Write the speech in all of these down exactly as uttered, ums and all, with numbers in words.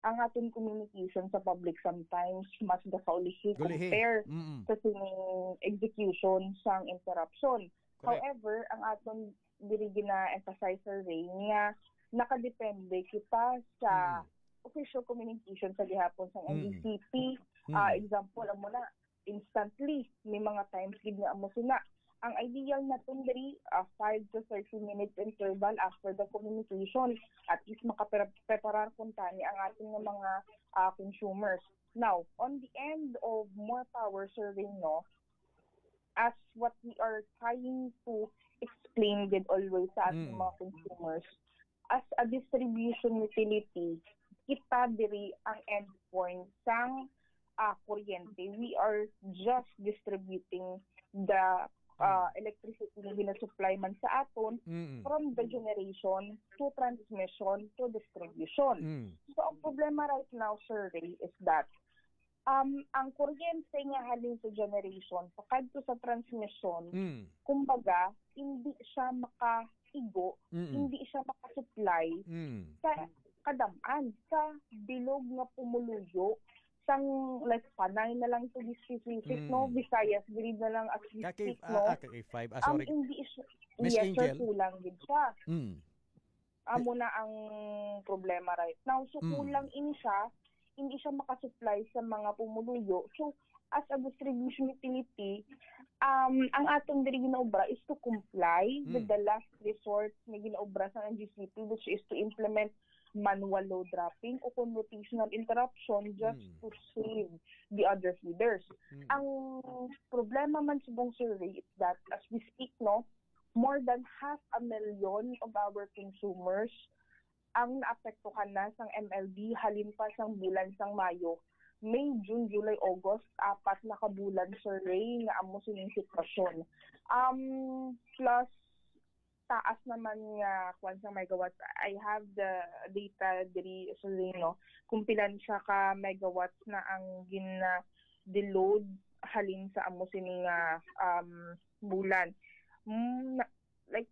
ang aton communication sa public sometimes mas gakaulihi Gulihi. compare Mm-mm. sa sining execution sang interruption. Correct. However, ang aton diri gina-emphasize, Sir Ray, nga nakadepende kita sa Mm. official communication sa gihapon sa Mm. N D C P. Mm. Ah, example, amo na, instantly, may mga times gid nga amo sina. Ang ideal naton diri, ah, five to thirty minutes interval after the communication. At least makapreparar kuntani ang ating nga mga, ah, consumers. Now, on the end of More Power survey, no, as what we are trying to explain gid always sa ating Mm. mga consumers, as a distribution utility, kita diri ang endpoint sang, ah, kuryente. We are just distributing the, ah, Mm. electricity na ginasupply man sa aton Mm. from the generation to transmission to distribution. Mm. So, ang problema right now, Sir Ray, is that, um, ang kuryente nga halin sa generation pakadto sa transmission, Mm. kumbaga, hindi siya makaigo, Mm. hindi siya makasupply Mm. sa kadam-an, sa bilog nga pumuluyo sang, like, Panay na lang to be specific, Mm. no? Visayas Grid na lang as we Kaki-, speak, ah, no? ah, kaki five. Ah, Um, sorry. hindi siya, Miss yes, sir, Angel? kulang gid siya. Mm. Amo na ang problema right now. So, Mm. kulang ini siya, hindi siya makasupply sa mga pumuluyo. So, as a distribution utility, um, ang atong diri ginaobra is to comply with Mm. the last resort nga ginaobra sa N G C P, which is to implement manual load dropping o kung rotational interruption just Mm. to save the other feeders. Mm. Ang problema man subong, Sir Ray, is that as we speak, no, more than half a million of our consumers ang naapektuhan na sang M L D halin pa sang bulan sang Mayo. May, June, July, August, apat na ka bulan, Sir Ray, nga amo sining sitwasyon. Um, plus, taas naman nga kwan sa megawatts. I have the data diri, Sir Ray, no, kung pilan siya ka megawatts na ang gin-, ah, deload halin sa amo sini nga, um, bulan. Mm, na-, like,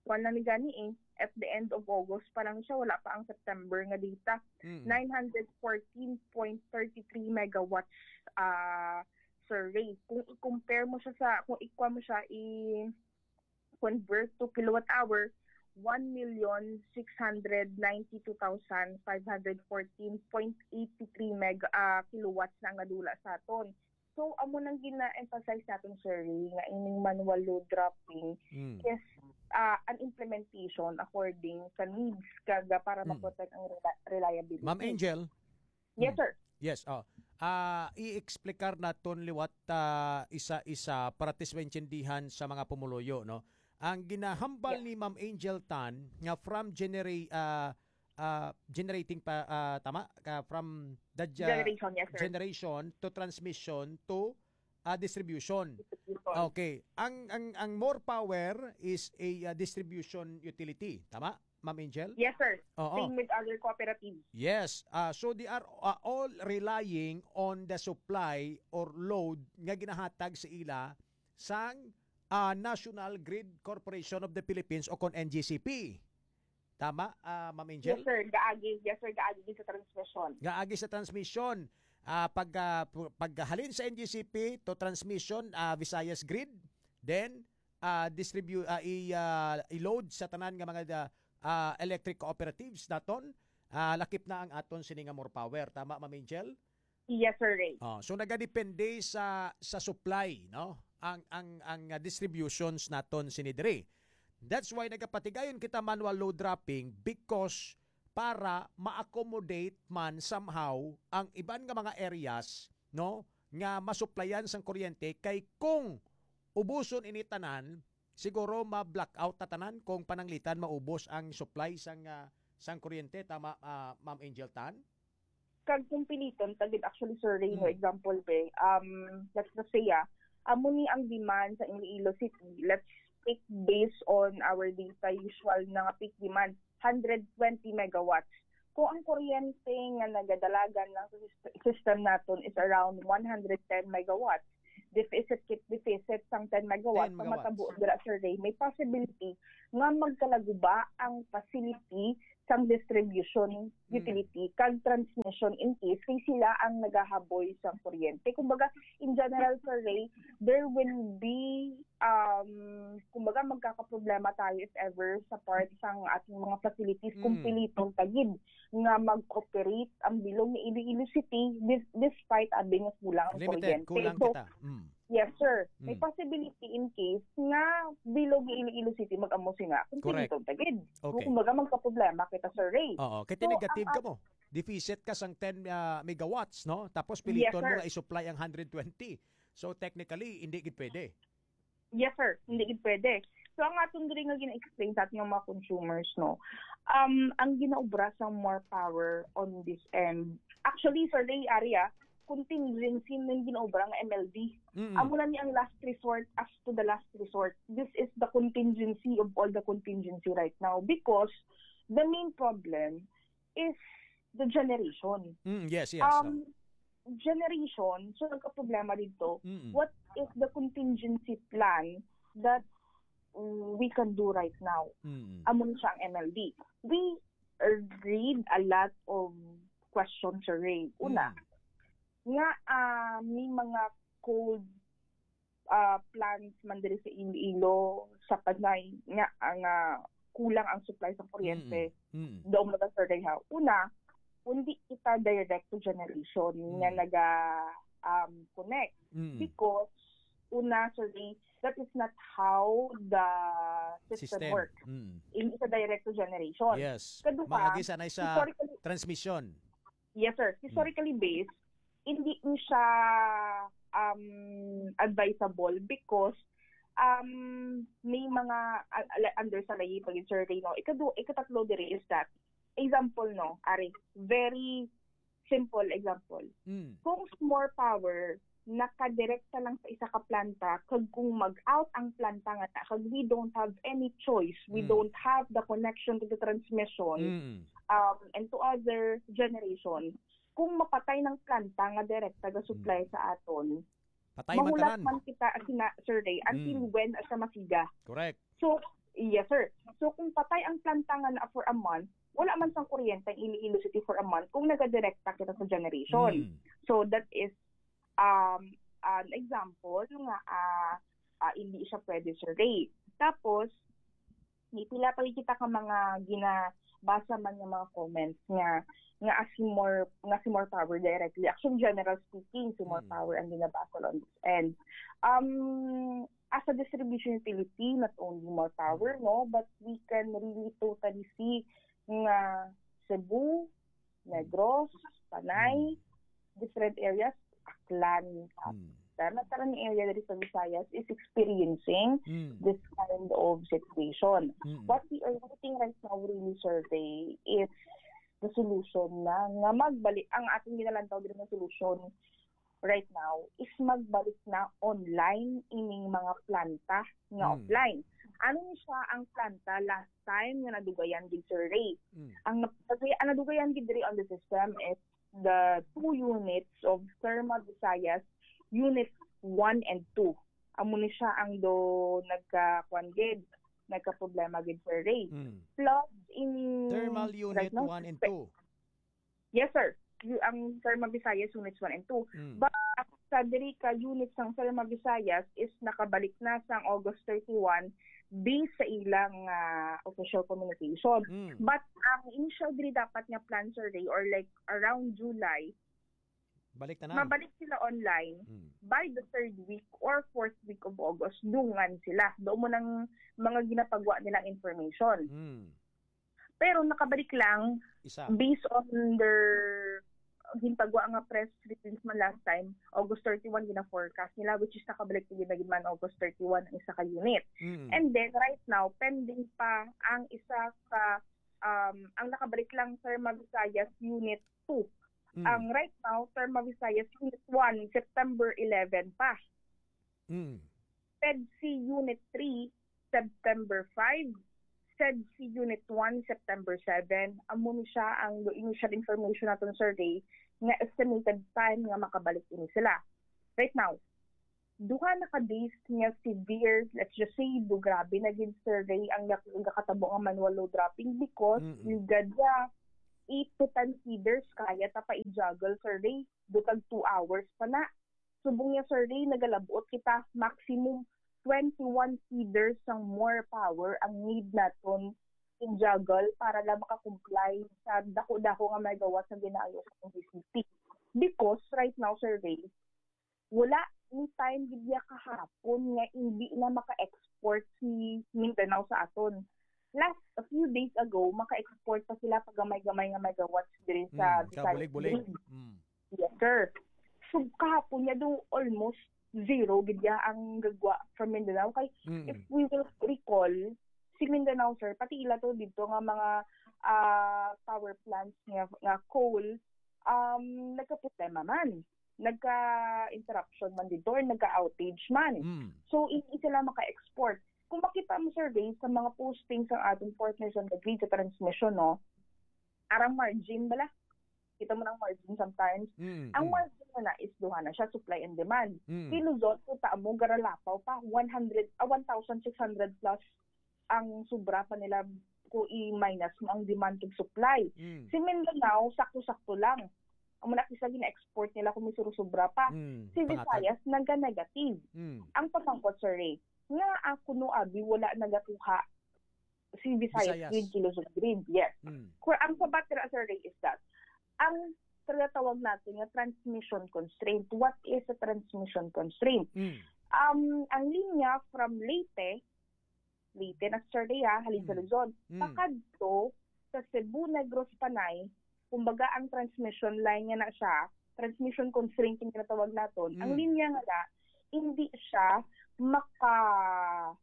kwan lang ni gani eh. At the end of August pa lang siya, wala pa ang September nga data. Mm. Nine hundred fourteen point thirty three megawatts, ah, Sir Ray. Kung i-compare mo siya sa, kung ikuha mo siya, i-convert to kilowatt hour, one million six hundred ninety two thousand five hundred fourteen point eight three mega, ah, kilowatts na ang nadula sa aton. So, amo nang gina-emphasize natin, Sir Ray, nga ining manual load dropping Mm. is, ah, an implementation according sa needs kag para Mm. ma-protect ang rela-, reliability. Ma'am Angel? Yes, Mm. sir. Yes, oh. Ah, i-explicar naton liwat, ah, isa-isa para tis maintindihan sa mga pumuluyo, no? Ang ginahambal Yes. ni Ma'am Angel Tan nga from genera-, ah, ah, generating pa, ah, tama? Ka, from the ge-, Generation, yes, sir. generation to transmission to, ah, distribution. Distribution. Okay. Ang, ang, ang More Power is a, ah, distribution utility, tama, Ma'am Angel? Yes, sir. Oo. Same with other cooperatives. Yes. Ah, so they are, ah, all relying on the supply or load nga ginahatag sa ila sang, ah, National Grid Corporation of the Philippines o kon N G C P. Tama, ah, Ma'am Angel? Yes, sir. Gaagi, yes, sir. Gaagi din sa transmission. Gaagi sa transmission. Ah, pag, ah, pu-, paghalin sa N G C P to transmission, ah, Visayas Grid, then, ah, distribu-, ah, i-, ah, i-load sa tanan nga mga, ah, ah, electric cooperatives naton, ah, lakip na ang aton sini nga More Power. Tama, Ma'am Angel? Yes, Sir Ray. Oh, so nagadepende sa, sa supply, no? Ang, ang, ang, ah, distributions naton sini diri. That's why nagapatigayon kita manual load dropping, because para ma-accommodate man somehow ang iban nga mga areas, no, nga masuplayan sang kuryente, kay kung ubuson ini tanan, siguro ma-blackout ta tanan kung pananglitan maubos ang supply sang, ah, sang kuryente. Tama, ah, Ma'am Angel Tan? Kag kung piliton ta gid, actually, Sir Ray, no, Mm. example, be, um, let's just say, ah, amo ni ang demand sa Iloilo City. Let's speak based on our data, usual na nga peak demand, hundred twenty megawatts. Kung ang kuryente nga nagadalagan lang sa sist-, system naton is around one hundred ten megawatts, deficit kit deficit sang ten megawatts, ten megawatts. Ang matabo dira, Sir Ray, may possibility nga magkalaguba ang facility sang distribution, mm, utility kag transmission in case kay sila ang nagahaboy sang kuryente. Kumbaga, in general, Sir Ray, there will be, um, kumbaga, magkakaproblema tayo if ever sa part sang ating mga facilities kung, mm, piliton ta gid nga mag-operate ang bilog ni Iloilo City dis-, despite abi nga kulang ang kuryente. Limited, kulang kita. Mm. Yes, sir. May, mm, possibility in case nga bilog ni Iloilo City mag-amo sina kung, correct, piliton ta gid. Okay. Kumbaga, magkaproblema kita, Sir Ray. Oo, kay, so, negative ang ka mo. Deficit ka sang ten, ah, megawatts, no? Tapos, yes, piliton mo, sir, nga i-supply ang hundred twenty. So, technically, hindi gid pwede. Yes, sir. Hindi gid pwede. So, ang aton diri nga gina-explain sa ating mga consumers, no, um, ang ginaobra sang More Power on this end, actually, Sir Ray, area, contingency nang ginaobra nga M L D. Mm. Amo na ni ang last resort as to the last resort. This is the contingency of all the contingency right now because the main problem is the generation. Mm, yes, yes. Um, generation, so nagka-problema dito, mm-mm, what is the contingency plan that, mm, we can do right now? Mm-mm. Amo ni siya ang M L D. We, uh, read a lot of questions, Sir Ray. Una, mm, nga, ah, may mga cold, ah, plants man diri sa Iloilo, sa Panay, nga, ah, nga kulang ang supply sa kuryente. Mm, mm. Daw mo na, Sir Ray, ha. Una, hindi kita direct to generation nga, mm, naga, um, connect. Mm. Because, una, Sir Ray, that is not how the system, system works. Mm. Hindi siya direct to generation. Yes. Kaduha, maagi sa, na sa historically, transmission. Yes, sir. Mm. Historically based, hindi ni siya, um, advisable because, um, may mga, uh, under sa layi pag survey, no? Ikadu-, ikatatlo diri is that, example, no, ari, very simple example. Mm. Kung More Power nakadirekta lang sa isa ka planta, kag kung mag-out ang planta nga na, kag we don't have any choice, we, mm, don't have the connection to the transmission, mm, um, and to other generation, kung mapatay ng planta nga direkta ga supply, mm, sa aton, patay man tanan. Mahulat man kita, sina, Sir Ray, until, mm, when siya masiga. Correct. So, yes, sir. So, kung patay ang planta nga na for a month, wala man sang kuryente ang Iloilo City for a month kung nagadirekta kita sa generation. Mm. So, that is, um, an example nga, ah, ah, hindi siya pwede, Sir Ray. Tapos, may pila pa kita ka mga ginabasa man nga mga comments nga, nga as More, nga si More Power directly. Actually, general speaking, si More, mm, Power ang ginabasa on this end. Um, as a distribution utility, not only More Power, no, but we can really totally see nga Cebu, Negros, Panay, mm, different areas, Aklan, mm, tanan-tanan nga area diri sa Visayas is experiencing, mm, this kind of situation. Mm. What we are waiting right now, really, Sir Ray, is the solution na nga magbalik ang ating ginalantaw diri nga solusyon right now is magbalik na online ining mga planta nga, mm, offline. Ano ni siya ang planta last time nga nadugayan gid, Sir Ray? Mm. Ang nap-, ang nadugayan gid diri on the system is the two units of Therma Visayas Unit one and two. Amo ni siya ang do nagka-, kuwan gid, nagka-problema gid, Sir Ray. Mm. Floods in Thermal Unit right now, one and two. Yes, sir. Yu-, ang Therma Visayas Units one and two. Mm. But sa diri ka unit sang Therma Visayas is nakabalik na sang August thirty-one based sa ilang, ah, official communication. Mm. But ang initial diri dapat nga plan, Sir Ray, or like around July, balik tanan. Mabalik sila online, mm, by the third week or fourth week of August, dungan sila. Doon mo nang mga ginapagwa nilang information. Mm. Pero nakabalik lang, isa, based on their ginpagwa nga press release man last time, August thirty-one gina-forecast nila, which is nakabalik na gid man August thirty-one ang isa ka unit. Mm. And then right now, pending pa ang isa ka, um, ang nakabalik lang, Therma Visayas Unit two. Mm. Ang right now, Therma Visayas Unit one, September eleven pa. Mm. PEDC Unit three, September five, SEDC Unit one, September seven. Amo ni siya ang initial information naton, Sir Ray, nga estimated time nga makabalik ini sila. Right now, duha na ka days nga severe, let's just say, do grabe na gid, Sir Ray, ang nak-, nagakatabo nga manual load dropping because Mm-mm. yung gad nga eight to ten feeders kaya ta pa i-juggle, Sir Ray, do tag two hours pa na. Subong niya, Sir Ray, nagalabot kita, maximum twenty-one feeders sang more power ang need naton in-juggle para lang makakomply sa dako-dako nga megawatt nga ginaayo sa D C T. Because right now, Sir Ray, wala ni time gid niya kahapon nga hindi na maka-export si Mindanao sa aton. Last, a few days ago, maka-export pa sila pag gamay-gamay nga megawatts diri sa Mm, Visayas kabulig-bulig. Grid. Mm. Yes, sir. So, kahapon niya do almost zero gid niya ang gagwa from Mindanao. Kay, Mm. if we will recall, si Mindanao, sir, pati ila to dito nga mga, ah, power plants nga, nga coal, um, nagkaproblema man. Nagka-interruption man dito or nagka-outage man. Mm. So, hindi sila maka-export. Kung makita mo, Sir Ray, sa mga postings sa ating partners on the grid sa transmission, no? Arang margin bala. Kita mo ng margin sometimes. Mm, Ang mm. margin na na is duha na siya, supply and demand. Mm. Si Luzon, kita mo, garalapaw pa, one hundred, ah, one thousand six hundred plus ang sobra pa nila kung i-minus mo ang demand ug supply. Mm. Si Mindanao, sakto-sakto lang. Amo na kisa gina-export nila kung may surusubra pa. Mm, Si pangatag. Visayas, naga-negative. Mm. Ang pamangkot, Sir Ray, nga ako no abi wala nagakuha si Visayas Visayas. Grid, Kilos Grid. Yes. Mm. Kung ang sabat dira, Sir Ray, is that ang tinatawag natin nga transmission constraint. What is a transmission constraint? Mm. Um, ang linya from Leyte, Leyte na, Sir Ray, ah, halin sa Mm. Luzon, Mm. pakadto sa Cebu, Negros, Panay, kumbaga ang transmission line nga na siya, transmission constraint yung tinatawag naton, ang Mm. linya nga na, hindi siya maka-,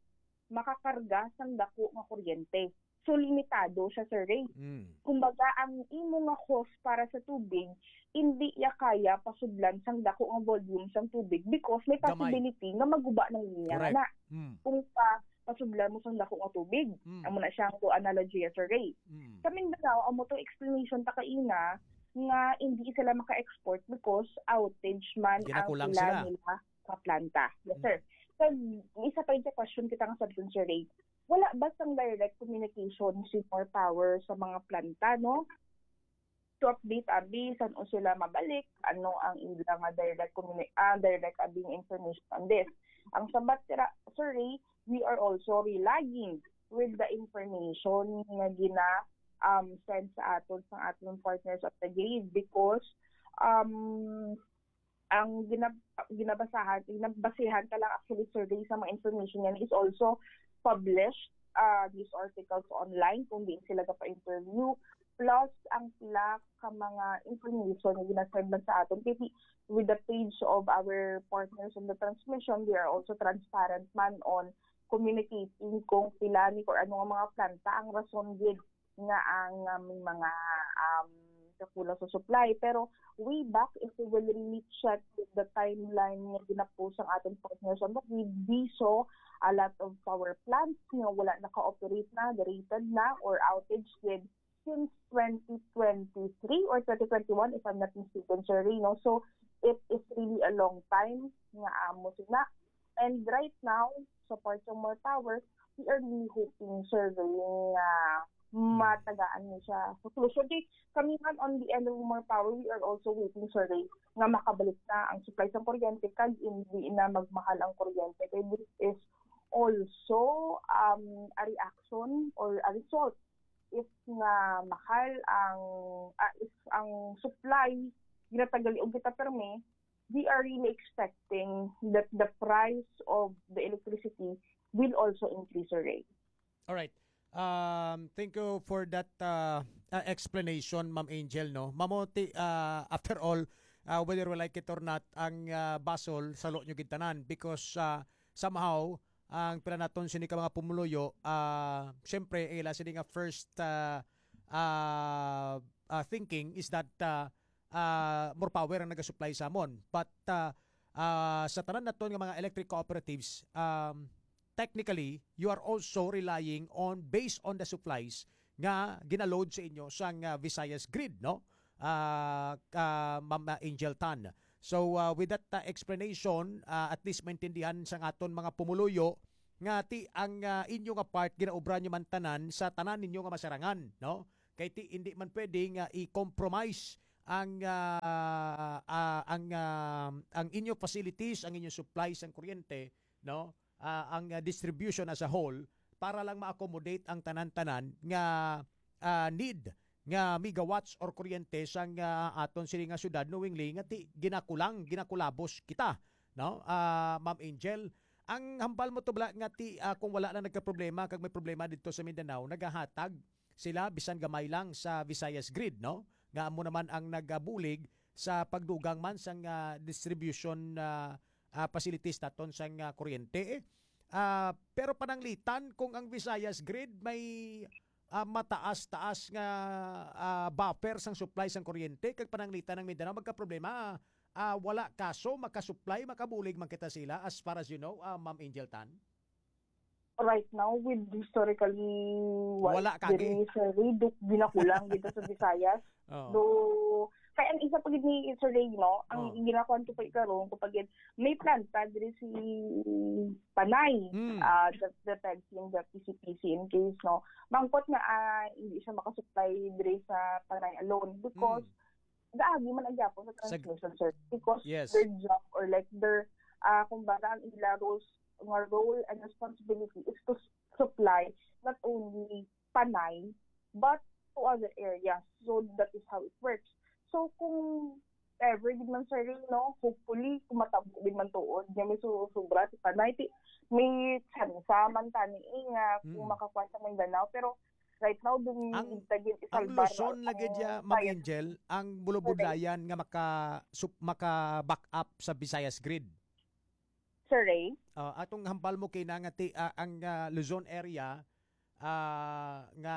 makakarga sang dako nga kuryente. So, limitado siya, Sir Ray. Mm. Kumbaga, ang imo nga hose para sa tubig, hindi ya kaya pasudlan sang dako nga volume sang tubig because may Gamay. possibility nga maguba ng linya Correct. na. Mm. Kung pa, pasudlan mo sang dako nga tubig, Mm. amo na siya ang to analogy, Sir Ray. Mm. Sa Mindanao, amo to explanation ta kaina nga hindi sila maka-export because outage man ang Ginakulang pila sila. nila ka planta. Yes, Mm. sir. Kag isa pa yung question kita nga sa Sir Ray. Wala ba sang direct communication si More Power sa mga planta, no? To update abi san-o sila mabalik, ano ang ila nga direct communi-, ah, direct abi nga information on this. Ang sabat sira, Sir Ray, we are also relying with the information nga gina, um, send sa aton sa aton partners of the grid because, um, ang ginab-, ginabasahan, ginabasihan ka lang actually, Sir Ray, sa mga information yan is also published, uh, news articles online kung diin sila gapa-interview. Plus, ang pila ka mga information nga ginasend man sa aton. Kay with the page of our partners in the transmission, we are also transparent man on communicating kung pila ni or ano nga mga planta ang rason gid nga ang, ah, may mga, um, kakulang sa supply. Pero way back, if we will really check the timeline nga ginapost ang ating partners on the grid, we saw a lot of power plants nga wala naka-operate na, derated na, or outage gid since twenty twenty-three or twenty twenty-one, if I'm not mistaken, Sir Rino. So, it is really a long time nga amo sina. And right now, sa part sa More Power, we are really hoping, Sir Ray, nga Mm. matagaan ni siya sa solusyon. Kay kami man, on the end of More Power, we are also waiting, Sir Ray, nga makabalik na ang supply sa kuryente kag hindi na magmahal ang kuryente. Kay this is also, um, a reaction or a result if nga mahal ang, ah, if ang supply ginatagal og kita permi, we are really expecting that the price of the electricity will also increase, Sir Ray. All right. Um, thank you for that, uh, uh, explanation, Ma'am Angel, no? Mamuti, uh, after all, uh, whether we like it or not, ang, uh, basol, salo nyo gid tanan because, uh, somehow, ang pila naton sini ka mga pumuluyo, ah, siyempre, ila sini nga first, ah, ah, ah, thinking is that, ah, ah, More Power ang nagasupply sa amon. But, ah, ah, sa tanan naton nga mga electric cooperatives, um, technically, you are also relying on, based on the supplies nga ginaload sa inyo sang, ah, Visayas Grid, no? Ah, ka, Ma'am Angel Tan. So, ah, with that, ah, explanation, ah, at least maintindihan sa aton mga pumuluyo nga ti ang, ah, inyo nga part ginaobra nyo man tanan sa tanan ninyo nga masarangan, no? Kay ti hindi man pwede nga i-compromise ang, ah, ah, ang, ah, ang inyo facilities, ang inyo supply sang kuryente, no? Ah, ang, ah, distribution as a whole para lang ma-accommodate ang tanan-tanan nga, ah, need nga megawatts or kuryente sang, ah, aton sini nga syudad, knowingly nga ti ginakulang, ginakulabos kita, no? Ah, Ma'am Angel, ang hambal mo to bala nga ti, ah, kung wala lang nagkaproblema kag may problema didto sa Mindanao, nagahatag sila bisan gamay lang sa Visayas Grid, no? Nga amo naman ang nagabulig sa pagdugang man sang, ah, distribution, ah, ah, facilities naton sang, ah, kuryente. Ah, pero pananglitan kung ang Visayas Grid may, ah, mataas-taas nga, ah, buffer sang supply sang kuryente, kag pananglitan ang Mindanao magkaproblema, ah, wala kaso, makasupply, makabulig man kita sila as far as you know, ah, Ma'am Angel Tan? Right now, with historically wise Wala ka, diri, eh. Sir Ray, duk-, ginakulang dito sa Visayas. Oo. Do, kaya ang isa pa gid ni Sir Ray, no, ang Oh. ginakuan ko pa karon, ko pa gid, may planta diri si Panay, Mm. ah, the, the P E G C and the P C P C in case, no, mangkot nga, ah, hindi siya makasupply diri sa Panay alone because Mm. gaagi man ang gyapon sa Sa transmission, sir. Because Yes. their job or like their, ah, kumbaga, ang ila roles, nga role and responsibility is to s-, supply not only Panay, but to other areas. So, that is how it works. So, kung ever gid man, sir, no, hopefully, kung matabo gid man tuod, nga may su-, sobra si Panay, ti-, may tsansa man tani, eh, nga kung Mm. makakuha sa Mindanao. Pero, right now, dun Ang, ta gid ang isalbar Luzon na lagi ang dya, Ma'am science. Angel, ang bulubudlayan nga maka-, sup-, maka-back up sa Visayas Grid. Sir Ray? Ah, atong hambal mo kay na nga ti-, ah, ang, ah, Luzon area, ah, nga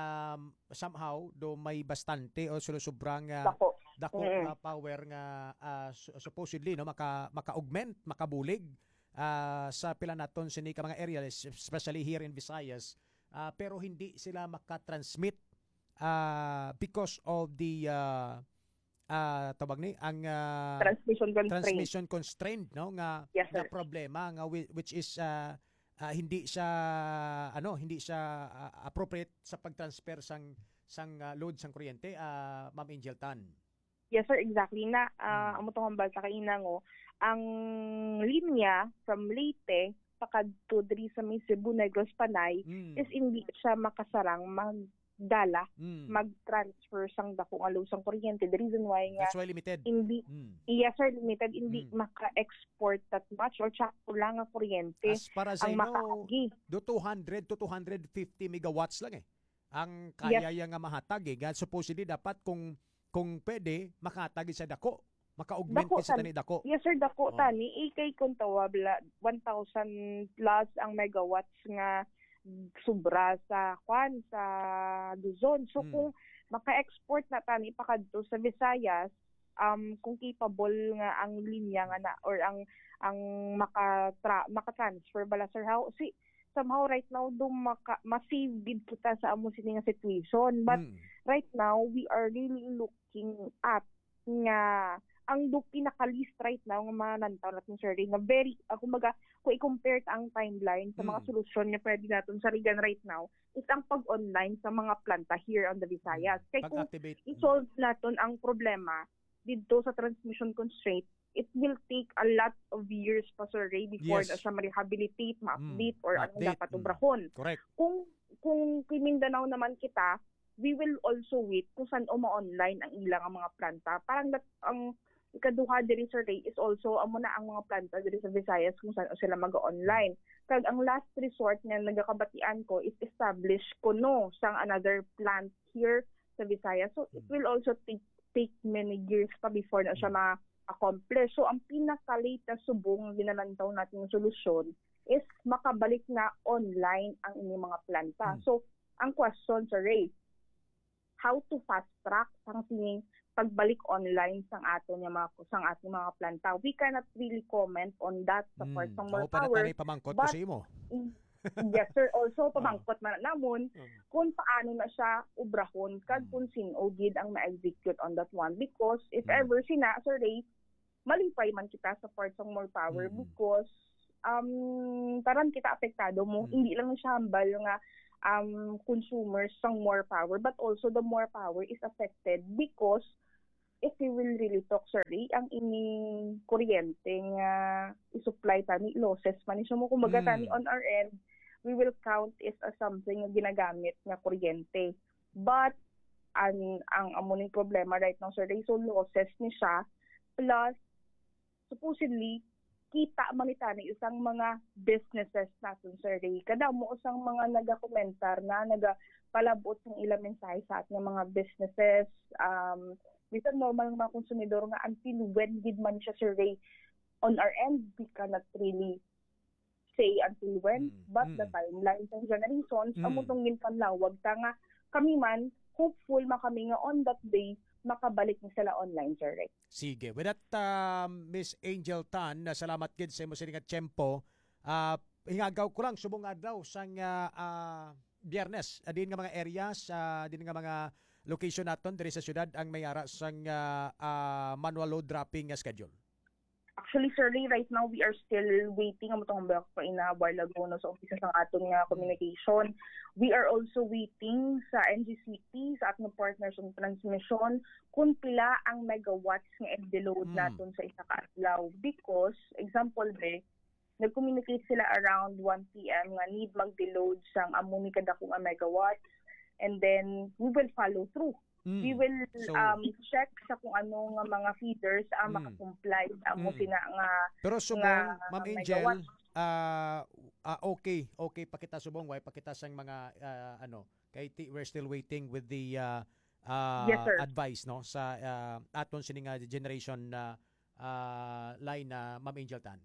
somehow do may bastante o sulu-, sobrang, ah, Dako. dako Mm. nga power nga, ah, su-, supposedly, no, maka-, maka-augment, makabulig, ah, sa pila naton sini ka mga area, es-, especially here in Visayas, ah, pero hindi sila maka-transmit, ah, because of the, ah, ah, tawag ni, ang, ah, Transmission constraint. transmission constraint, no, nga, Yes, nga sir. problema nga whi-, which is, ah, ah, hindi siya, ano, hindi siya, ah, appropriate sa pag-transfer sang, sang, ah, load sang kuryente, ah, Ma'am Angel Tan. Yes, sir, exactly. Na, ah, Hmm. amo tong hambal sa kaina ngo, ang linya from Leyte pakadto diri sa may Cebu, Negros, Panay, Hmm. is hindi siya makasarang magdala, Hmm. mag-transfer sang dako nga load sang kuryente. The reason why nga That's why limited. hindi, Hmm. yes, sir, limited, hindi Hmm. maka-export that much or tsaka lang nga kuryente As far as ang I know, makaagi. do two hundred to two hundred fifty megawatts lang eh. Ang Yes. kaya ya nga mahatag eh. Nga supposedly dapat kung, kung pwede, makahatag sa dako. Maka-augment Dako kay sa tan-, tani dako. Yes, sir, dako Oh. tani. Eh, kay kung tawag la, one thousand plus ang megawatts nga sobra sa, kwan, sa Luzon. So, Hmm. kung maka-export na tani pakadto sa Visayas, um, kung capable nga ang linya nga na, or ang, ang makatra-, maka-transfer bala, sir, how, si, somehow right now, do maka-, ma-save gid kita sa amo sini nga situation. But Hmm. right now, we are really looking at nga ang do pinaka-least right now nga manantaw natin, sir, nga very, ah, kumbaga, kung i-compare ta ang timeline sa mga Mm. solusyon nga pwede natin sarigan right now is ang pag-online sa mga planta here on the Visayas. Mm. Kay kung Pag-activate. Mm. i-solve natin ang problema dito sa transmission constraint, it will take a lot of years pa, sir Ray, before Yes. na siya ma-rehabilitate, ma-update, Mm. or anong Ma-update. dapat Mm. obrahon. Correct. Kung, kung kay Mindanao naman kita, we will also wait kung saan o ma-online ang ilang mga planta. Parang that, ang ikaduha diri, sir Ray, is also amo na ang mga planta diri sa Visayas kung saan o sila mag-online. Kag ang last resort nga nagakabatian ko is establish kuno sang another plant here sa Visayas. So, it Mm. will also take, take many years pa before na siya Mm. ma-accomplish. So, ang pinaka-latest subong nga ginalantaw natin nga solusyon is makabalik na online ang inyong mga planta. Mm. So, ang question, sir Ray, how to fast track sang sining pagbalik online sang aton nga mga, sang aton mga planta? We cannot really comment on that sa Mm. part sang Ako pa na Molpower, tanay pamangkot ko but sa imo. in-, yes, sir. Also, Ah. pamangkot man namon Mm. kung paano na siya obrahon kag Mm. kung sin-o gid ang ma-execute on that one. Because if Mm. ever sina, sir Ray, malipay man kita sa part sang More Power Mm. because, um, tanan kita apektado mo. Mm. Hindi lang siya hambal nga, um, consumers sang More Power, but also the More Power is affected because if we will really talk, sir, eh, ang ining kuryente nga i-supply tani, losses man ni siya mo. Kumbaga, Mm. tani on our end, we will count it as something nga ginagamit nga kuryente. But, ang, ang amo ning problema right now, sir, eh, so losses ni siya, plus, supposedly, kita man ni tani isang mga businesses naton, sir, eh. Kadamo usang mga nagakomentar na nagapalabot sang ilang mensahe sa aton nga mga businesses. Um, bisan normal nga mga konsumidor nga until when gid man siya, sir, eh, on our end, we cannot really say until when, Mm, but the mm. timeline sang generations, Mm. amo tong ginpanlawag ta nga kami man, hopeful man kami nga on that day, makabalik na sila online, sir, eh. Sige. With that, ah, Miss Angel Tan, ah, salamat gid sa imo sini nga tiyempo. Ah, hingagaw ko lang, subong adlaw sang, ah, ah, Biyernes, ah, diin nga mga areas, ah, diin nga mga location naton diri sa syudad ang may ara sang, ah, ah, manual load dropping nga schedule? Actually, sir, Ray, right now, we are still waiting. Amo tong hambal ko ina while ago, no, sa umpisa sa aton nga Mm. communication. We are also waiting sa N G C P, sa aton partners on transmission, kung pila ang megawatts nga i-deload Mm. naton sa isa ka adlaw. Because, example, be, nag-communicate sila around one P M nga need mag-deload sang amo ni kadako nga megawatts. And then, we will follow through. Mm. We will, So, um, check sa kung ano nga mga feeders ang Mm. makakomply sa amo Mm. sina nga Pero subong, nga Ma'am Angel, megawatts. ah, ah, okay, okay pa kita subong, way pa kita sang mga, ah, ano, kay ti-, we're still waiting with the, ah, ah, Yes, sir. advice, no, sa, ah, aton sini nga generation na, ah, line na, Ma'am Angel Tan.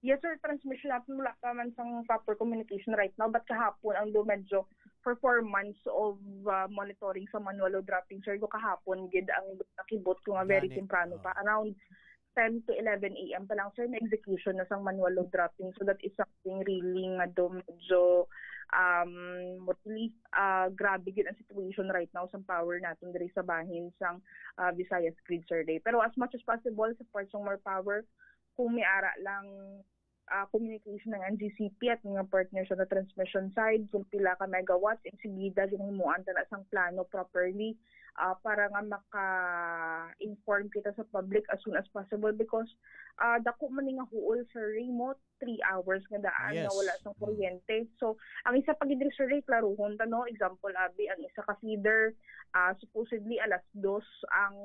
Yes, sir. Transmission natin, wala pa man sang proper communication right now. But kahapon, ang do medyo for four months of, ah, monitoring sa manual load dropping, sir, do kahapon gid ang nakibot ko nga very Gani. temprano pa. Oh. Around ten to eleven A M pa lang, sir, may execution na sang manual load dropping. So that is something really nga do medyo, um, really, ah, grabe gid ang situation right now sang power natin diri sa bahin sang, ah, Visayas Grid, sir, day. Pero as much as possible, sa part sang More Power, kung may ara lang, ah, communication ng N G C P at mga partner sa transmission side, kung pila ka megawatts, insigida ginhimuan ta na sang plano properly, ah, para nga maka-inform kita sa public as soon as possible because, ah, dako man ni nga huol sa remote, three hours nga daan nga Yes. wala sang Mm. kuryente. So, ang isa pa gid diri, sir, klaruhon ta, no? Example, abi, ang isa ka feeder, ah, supposedly alas dos ang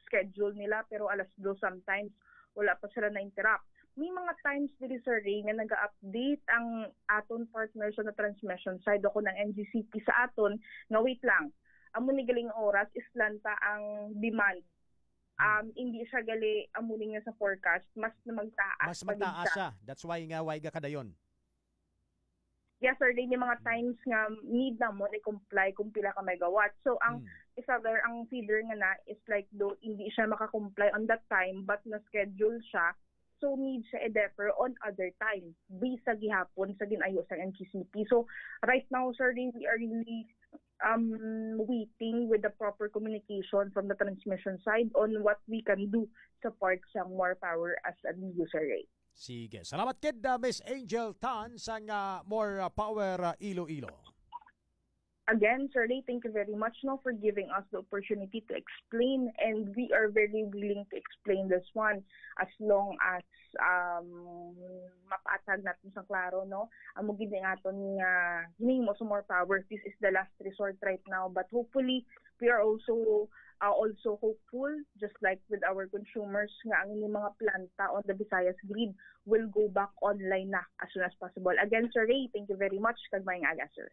schedule nila, pero alas dos sometimes wala pa sila na-interrupt. May mga times diri, sir, eh, nga naga-update ang aton partner sa na transmission side o kung ang N G C P sa aton nga, "Wait lang, amo ni galing oras, islan ta ang demand." Um, hindi siya gali amo ni nga sa forecast, mas na magtaas Mas pa gid magtaas siya. siya. That's why nga, why ga kadayon. Yes, sir. May mga Hmm. times nga need na mo i-comply kung pila ka megawatt. So, ang Hmm. isa, sir, ang feeder nga na is like do hindi siya maka-comply on that time, but na-schedule siya. So, need siya i-defer on other time. Based sa gihapon sa ginayo sa N G C P. So, right now, sir, we are really, um, waiting with the proper communication from the transmission side on what we can do sa part sa More Power as a user rate. Sige. Salamat kid, ah, Miss Angel Tan sang, ah, More, ah, Power, ah, Iloilo. Again, Sir Ray, thank you very much, no, for giving us the opportunity to explain, and we are very willing to explain this one as long as, um, mapatag natin sa klaro, no? Amo gid ni aton nga ginhimo sa More Power. This is the last resort right now, but hopefully, we are also, uh, also hopeful, just like with our consumers, nga ang ining mga planta on the Visayas grid will go back online na as soon as possible. Again, Sir Ray, thank you very much. Kag maayong aga, sir.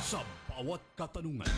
Sa bawat katanungan,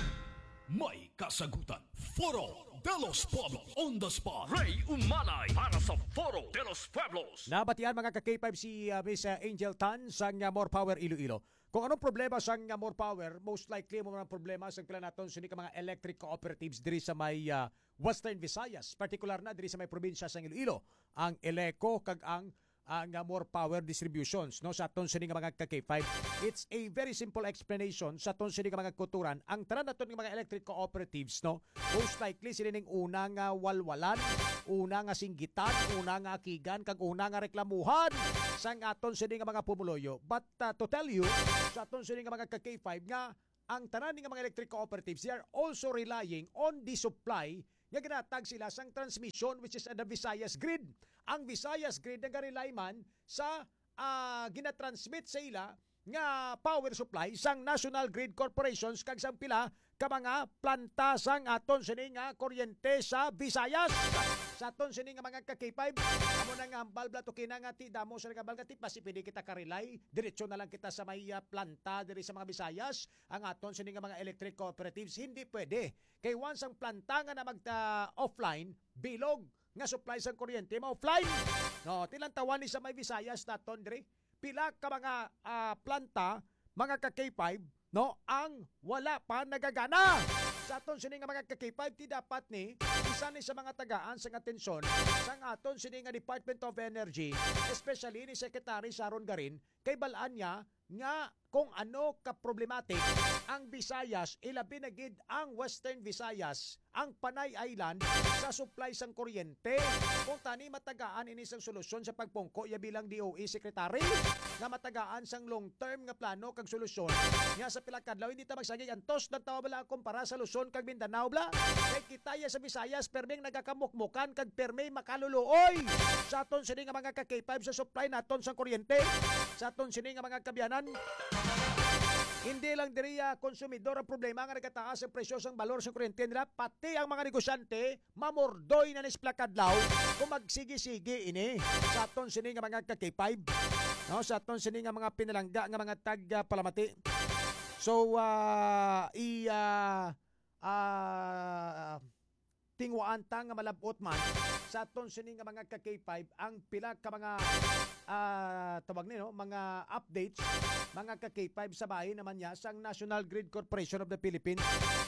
may kasagutan. Foro de los Pueblos, on the spot. Ray Umanay para sa Foro de los Pueblos. Nabatian, mga ka-K five, si, ah, Miss, ah, Angel Tan sang, ah, More Power Iloilo. Kung anong problema sang, ah, More Power, most likely mo ang problema sa pila naton sini ka mga electric cooperatives diri sa may, ah, Western Visayas, partikular na diri sa may probinsya sang Iloilo, ang Eleco kag ang, ang, ah, More Power Distributions, no, sa aton sini nga mga ka-K five. It's a very simple explanation sa aton sini nga mga kauturan. Ang tanan naton nga mga electric cooperatives, no, most likely sila ning una nga walwalan, una nga singgitan, una nga akigan, kag una nga reklamuhan sang aton sini nga mga pumuluyo. But, uh, to tell you, sa aton sini nga mga ka-K five nga ang tanan nga mga electric cooperatives, they are also relying on the supply nga ginatag sila sang transmission, which is the Visayas Grid. Ang Visayas Grid nagarely man sa, ah, ginatransmit sa ila nga power supply sang National Grid Corporations kag sang pila ka mga planta sang aton sini nga kuryente sa Visayas. Sa aton sini nga mga ka-K five, amo na nga hambal bala to kina nga ti damo sa nagabal nga ti, basi pwede kita ka-rely, diretso na lang kita sa may, ah, planta diri sa mga Visayas. Ang aton sini nga mga electric cooperatives, hindi pwede. Kay once ang planta nga na mag, ah, offline, bilog nga supply sang kuryente ma-offline. No, ti lantawan ni sa may Visayas naton diri. Pila ka mga, ah, planta, mga ka-K five, no, ang wala pa nagagana. Sa aton sini nga mga ka-K five, ti dapat ni isa ni sa mga tagaan sang atensyon sang aton sini nga Department of Energy, especially ni Secretary Sharon Garin, kay bal-an niya nga kung ano ka problematic ang Visayas, ilabi na gid ang Western Visayas, ang Panay Island, sa supply sang kuryente. Kung tani matagaan ini sang solusyon sa pagpungko iya bilang D O E secretary, nga matagaan sang long-term nga plano kag solusyon, nga sa pila ka adlaw hindi ta magsagig antos, nagtawa bala kumpara sa Luzon kag Mindanao bala. Kay kita iya sa Visayas, perming nagakamukmukan kag permi makaluluoy. Sa aton sini nga mga ka-K five, sa supply naton sang kuryente, sa aton sini nga mga kaabyanan, hindi lang diri, ah, konsumidor ang problema nga nagataas ang presyo sang balor sa kuryente nila, pati ang mga negosyante mamordoy na ni sa pila ka adlaw kung magsigi-sigi ini. Sa aton sini nga mga ka-K five, no, sa aton sini nga mga pinalangga nga mga tag, ah, palamati. So, ah, i, ah, ah, tingwaan ta nga malab-ot man sa aton sini nga mga ka-K five ang pila ka mga, ah, tawag ni, no, mga updates, mga ka-K five, sa bahin naman niya sang National Grid Corporation of the Philippines.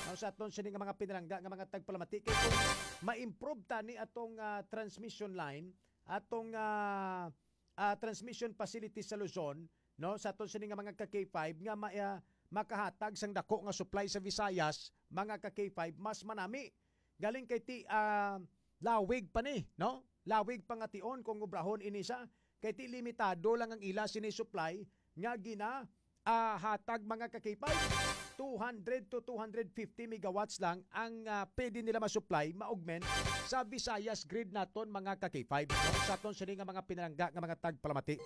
No, sa aton sini nga mga pinalangga nga mga tagpalamati, kay kung ma-improve ta ni atong, ah, transmission line, atong, ah, ah, transmission facility sa Luzon, no, sa aton sini nga mga ka-K five nga ma-, ah, makahatag sang dako nga supply sa Visayas, mga ka-K five, mas manami. Galing kay ti, ah, lawig pa ni, no? Lawig pa nga tion kung obrahon ini sa, kay ti limitado lang ang ila sini supply nga gina, ah, hatag, mga ka-K five. Two hundred to two hundred fifty megawatts lang ang, ah, pwede nila ma-supply, ma-augment sa Visayas Grid naton, mga ka-K five. Sa aton sini nga mga pinalangga nga mga tagpalamati,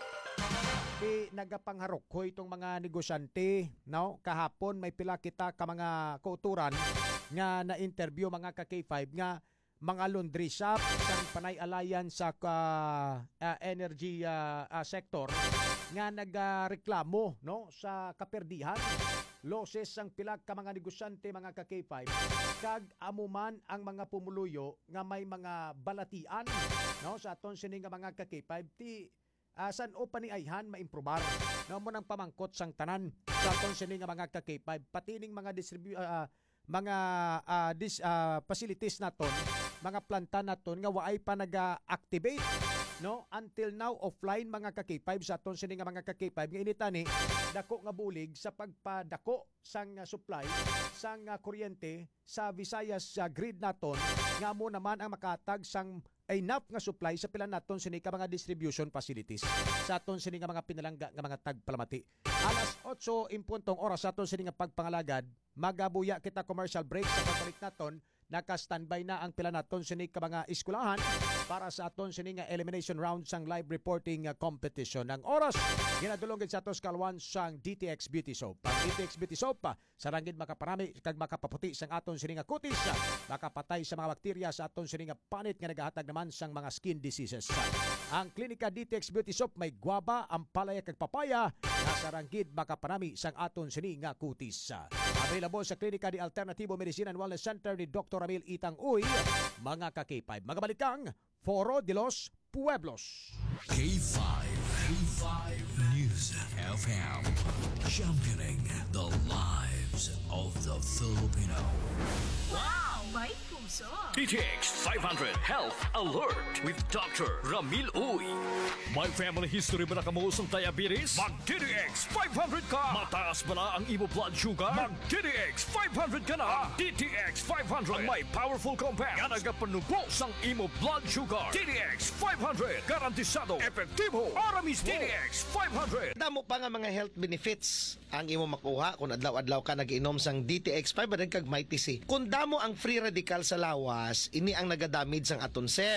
di nagapangharukhoy tong mga negosyante, no? Kahapon may pila kita ka mga kauturan nga na-interview, mga ka-K five, nga mga laundry shop sang Panay Alliance sa ka-, ah, energy, ah, ah, sector nga nagareklamo, no, sa kaperdihan, losses sang pila ka mga negosyante, mga ka-K five, kag amo man ang mga pumuluyo nga may mga balatian, no, sa aton sini nga mga ka-K five, ti ah, san-o pa ni ayhan maimprobar? No, mo nang pamangkot sang tanan sa aton sini nga mga ka-K five, pati ning mga distribu-, ah, ah, mga, ah, dis-, ah, facilities naton, mga planta naton nga waay pa naga-activate, no? Until now, offline, mga ka-K five, sa aton sini nga mga ka-K five, nga initani dako nga bulig sa pagpadako sang, ah, supply sang, ah, kuryente sa Visayas, ah, Grid naton, nga amo naman ang makatag sang enough nga supply sa pila naton sini ka mga distribution facilities sa aton sini nga mga pinalangga nga mga tagpalamati. Alas otso en punto ang oras sa aton sini nga pagpangalagad. Magabuya kita commercial break. Sa pagbalik naton, naka-standby na ang pila naton sini ka mga eskwelahan para sa aton sini nga elimination round sang live reporting, ah, competition. Ang oras ginadulong gid sa aton sa kalwan sang D T X Beauty Soap. Ang D T X Beauty Soap, ah, sa rangid makaparami kag makapaputi sang aton sini nga kutis, makapatay sa mga bakterya sa aton sini nga panit nga nagahatag naman sang mga skin diseases. Ang Klinika D T X Beauty Soap may guava, ampalaya kag papaya nga sa rangid makaparami sang aton sini nga kutis. Available sa Klinika de Alternativo Medicine and Wellness Center ni Doktor Ramil Itang Uy, mga ka-K five. Magabalik ang Foro de los Pueblos. K five, K five News F M, championing the lives of the Filipino. Wow! May D T X five hundred Health Alert with Doctor Ramil Uy. May family history ba na kamo sang diabetes? Mag D T X five hundred ka! Mataas ba na ang imo blood sugar? Mag D T X five hundred ka na! Ang D T X five hundred ang may powerful compound nga nagapanubo sang imo blood sugar. D T X five hundred, garantisado, epektibo, para mismo. D T X five hundred. Damo pa nga mga health benefits ang imo makuha kung adlaw-adlaw ka nag-inom sang D T X five hundred kag Mighty C. Kung damo ang free radical sa lawas, ini ang nagadamage sang aton cell.